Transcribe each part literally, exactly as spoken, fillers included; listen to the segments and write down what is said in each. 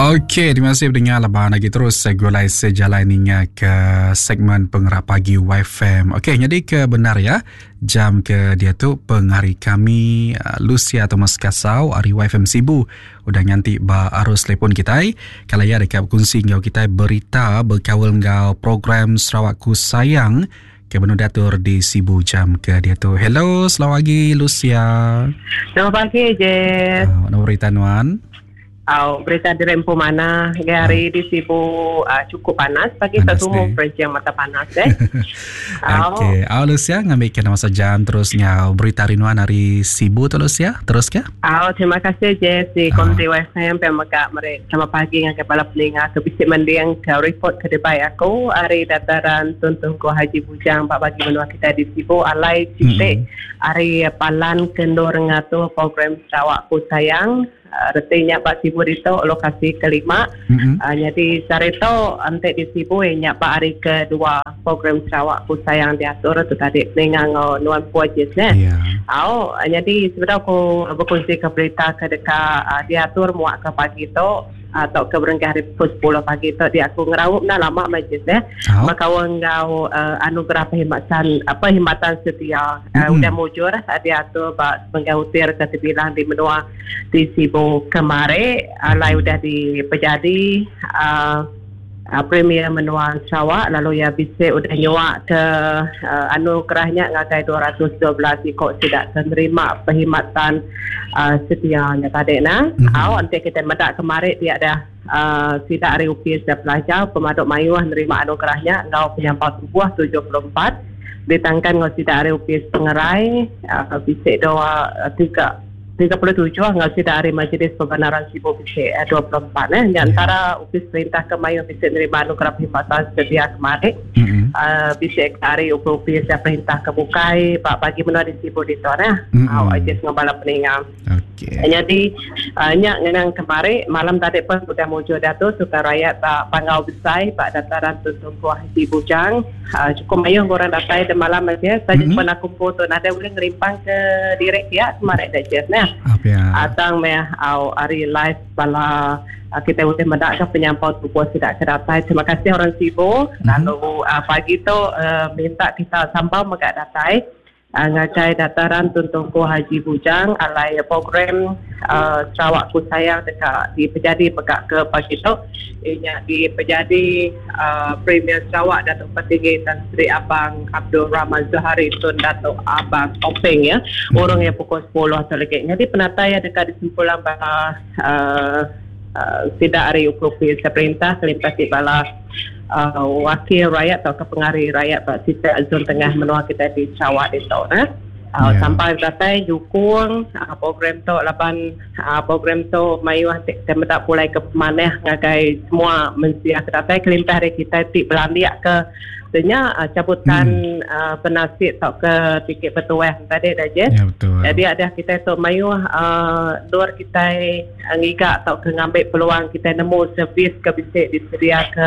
Okey, terima kasih pendengar laban lagi terus gulai sejalai ninga ke segmen Pengerak Pagi Y F M. Okey, jadi ke benar ya, jam ke dia tu pengari kami uh, Lucia Thomas Kasau ari Y F M Sibu udah nganti ba arus telefon kita. Kalau ya dekat berkongsi ngau kita berita berkawal ngau program Sarawakku Sayang ke benar diatur di Sibu jam ke dia tu. Hello, selamat pagi, Lucia. Selamat pagi, Jess. Uh, nama berita nuan? Oh, berita di Rempo mana? Hari di Sibu uh, cukup panas. Pagi panas satu mau yang mata panas eh. Okey, oh, Lucia ngambil kena masa jam terus ngau berita rinuan hari Sibu tu, Lucia. Terus ke? Oh, terima kasih, Jess, di Konti Y F M pemegak mereka. Selamat pagi dengan kepala peninga ke bisik mendiang ke report ke debai aku hari dataran Tun Tunku Haji Bujang pak bagi menua kita di Sibu alai citik mm-hmm. hari palan kendor ngatur program Sarawakku Sayang. Uh, retinya Pak Sibu itu lokasi kelima. Mm-hmm. Uh, jadi sarito ante di Sibu yang Pak hari kedua program Sarawakku Sayang diatur tu tadi dengan nuan puajes ne. Yeah. Oh, jadi sebenarnya aku berkongsi ke berita ke dekat uh, diatur muak ke pagi tu atau ke berengkah hari pukul sepuluh pagi tu dia aku ngerawup dah lama majlis eh. Oh. Maka ngau uh, anugerah perkhidmatan apa perkhidmatan setia uh, Mm-hmm. udah mujur uh, diatur bak sebagai utir ke terbilang di menua di Sibu kemari alai Mm-hmm. udah di pejadi uh, uh, Premier Menua Sarawak lalu ya bisa udah nyuak ke uh, anugerahnya ngagai dua ratus dua belas ikut tidak menerima perkhidmatan uh, setia nya tadi nah. Mhm. Mm-hmm. Aw nanti kita medak kemarin dia ada uh, tidak hari upis dan pelajar pemaduk mayuh menerima anugerahnya ngau penyampau tubuh tujuh puluh empat ditangkan ngau tidak hari upis pengerai uh, bisa dua uh, tiga tiga puluh tujuh ngau tidak hari Majlis Pembenaran Sibu bisa uh, dua puluh empat eh. Di Ya. antara upis perintah ke mayu bisa menerima anugerah perkhidmatan setia kemarin Mm-hmm. uh, bisa hari upis dan perintah ke bukai pak bagi menua di Sibu di tuan eh. Mm-mm. Aw aja ngabala peningang. Okey. Jadi uh, nyak ngenang kemari malam tadi pun sudah muncul datu suka rakyat Pak Pangau Besai Pak Dataran Tuntung Haji Bujang uh, cukup mayuh orang datang di malam aja saja Mm-mm. mm-hmm. pun aku foto ada boleh ngerimpang ke direk ya kemarin dah je nah. Apa ya? Atang meh au hari live bala uh, kita boleh mendak ke penyampau tubuh tidak kedatai. Terima kasih orang Sibu. Mhm. Lalu uh, pagi tu uh, minta kita sambal megak datai uh, ngagai dataran Tuntung Haji Bujang alai program uh, Sarawakku Sayang dekat di Pejadi pegak ke pagi tu ianya di Pejadi uh, Premier Sarawak Datuk Patinggi Tan Sri Abang Abdul Rahman Zohari Tun Datuk Abang Openg ya orang yang pukul sepuluh atau lagi. Jadi penatai yang dekat di simpulan bala uh, uh, tidak hari ukrupi perintah kelimpas di bala uh, wakil rakyat atau kepengari rakyat Pak Sita Zon Tengah menua kita di Sarawak itu nah. Uh, Ya. Sampai datai dukung uh, program tu laban uh, program tu mayu kita mendak pulai ke maneh ngagai semua mensia ke datai kelimpah hari kita ti belandia ke Tanya uh, cabutan hmm. uh, penasit atau ke tiket petuah tadi dah je. Ya, betul. Jadi ada kita tu mayu uh, luar kita uh, ngigak atau ke ngambil peluang kita nemu servis ke bisa disedia ke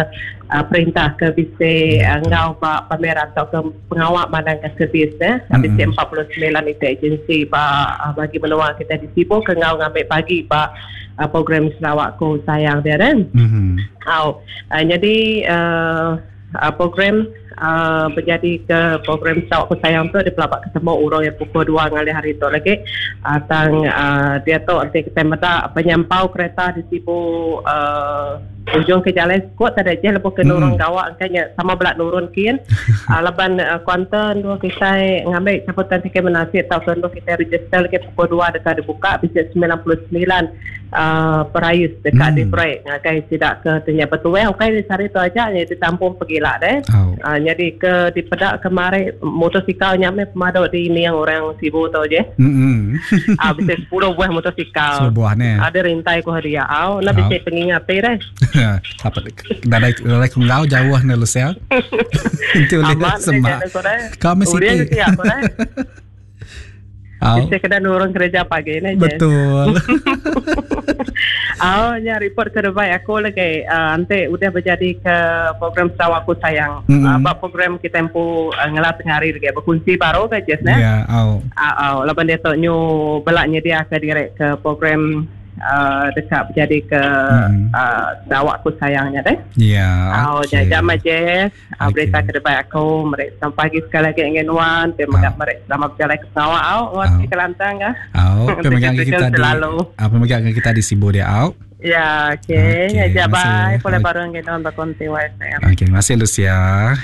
uh, perintah ke bisa Ya, uh, betul. ngau ba pameran atau ke pengawak mandang ke servis eh. Mm-mm. Bisa empat puluh sembilan itu agensi ba uh, bagi peluang kita di Sibu ke ngau ngambil pagi ba uh, program Sarawakku Sayang dia kan. Mhm. Oh, uh, jadi uh, uh, program uh, berjadi ke program Sarawakku Sayang tu di pelabak ketemu orang yang pukul dua ngalih hari tu lagi. Uh, tang uh, dia tu nanti kita meda penyampau kereta di Sibu uh, ujung ke jalan kuat tak ada je lepas ke nurun Mm. gawak angkanya sama belak nurun kin uh, laban uh, kuantan dua kita ngambil caputan tiket menasib atau dua kita register lagi pukul dua dekat dibuka bisa sembilan puluh sembilan uh, perais dekat Hmm. di proyek ngagai tidak ke tanya betul eh okey di sari tu aja jadi ditampung pergilah deh. Oh. Uh, jadi ke di pedak kemari motosikal nyame pemaduk di ni yang orang Sibu tu je. Mm-mm. Ah, bisa sepuluh buah motosikal. Sepuluh buah ni. Ada rintai ku hadiah au nak Au. bisa pengingat deh. Apa dari dari kengau jauh ni Lucia. Itu boleh Aman semak. Kami Udah siti. siap deh. Au. Bisa kena nurun kerja pagi ni je. Betul. Oh, ya report ke depan aku lagi uh, nanti udah berjadi ke program Sarawakku Sayang. Mm-mm. Uh, bab program kita empu uh, ngelah tengah hari lagi berkunci baru ke Jess ne. Ya, au. Ah, uh, uh, laban dia tu nyu belaknya dia ke direct ke program uh, dekat menjadi ke Mm. uh, Sarawak ku sayangnya deh. Ya. Oh, okey. jam aja. Uh, Okey. berita ke depan aku mereka sampai pagi sekali lagi ingin nuan, terima Ah. kasih mereka selamat berjalan ke Sarawak au, Ah. oh, ke Kelantan kah? Au, pemegang kita di Selalu. ah, pemegang kita di Sibu dia au. Ya, okey. Okey, Ya, terima bye. kasih. Boleh Okey. bareng kita orang berkonti Y F M. Okey, terima kasih Lucia.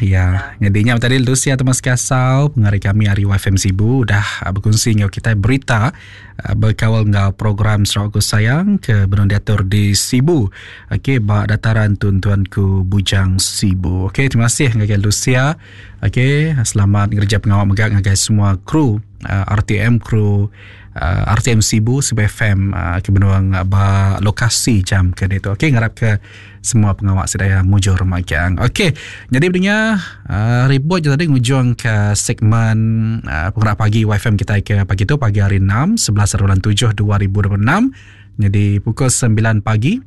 Ya, jadinya tadi Lucia Thomas Kasau, pengari kami hari Y F M Sibu dah ah, berkongsi dengan kita berita ah, berkawal dengan program Sarawak Ku Sayang ke Benung Diatur di Sibu. Okey, bak dataran tuan-tuanku Bujang Sibu. Okey, terima kasih ngagai Lucia. Okey, selamat ngerja pengawal megak ngagai semua kru ah, R T M kru uh, R T M Sibu Sibu F M uh, ke benuang uh, ba lokasi jam ke itu. Okey, ngarap ke semua pengawal sedaya mujur magang. Okey, jadi pendengar uh, ribut je tadi ngujung ke segmen uh, penggerak pagi Y F M kita ke pagi tu pagi hari enam sebelas bulan tujuh dua ribu dua puluh enam. Jadi pukul sembilan pagi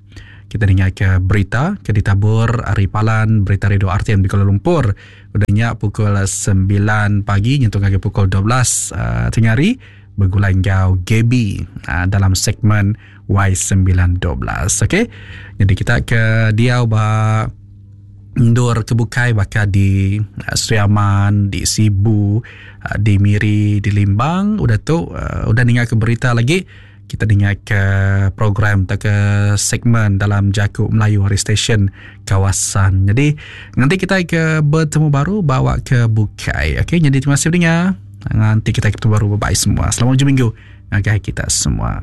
kita dengar ke berita ke ditabur Ari Palan berita radio R T M di Kuala Lumpur. Udahnya pukul sembilan pagi nyentuh ke pukul dua belas uh, tengah hari bergulai ngau Gaby uh, dalam segmen Y sembilan dua belas. Okey. Jadi kita ke diau ba ndur ke bukai bakal di uh, Sri Aman, di Sibu, uh, di Miri, di Limbang. Udah tu uh, udah dengar ke berita lagi. Kita dengar ke program atau ke segmen dalam Jakub Melayu Hari Station kawasan. Jadi nanti kita ke bertemu baru bawa ke bukai. Okey, jadi terima kasih pendengar. Nanti kita ketemu baru. Bye-bye semua. Selamat hujung minggu ngagai kita semua.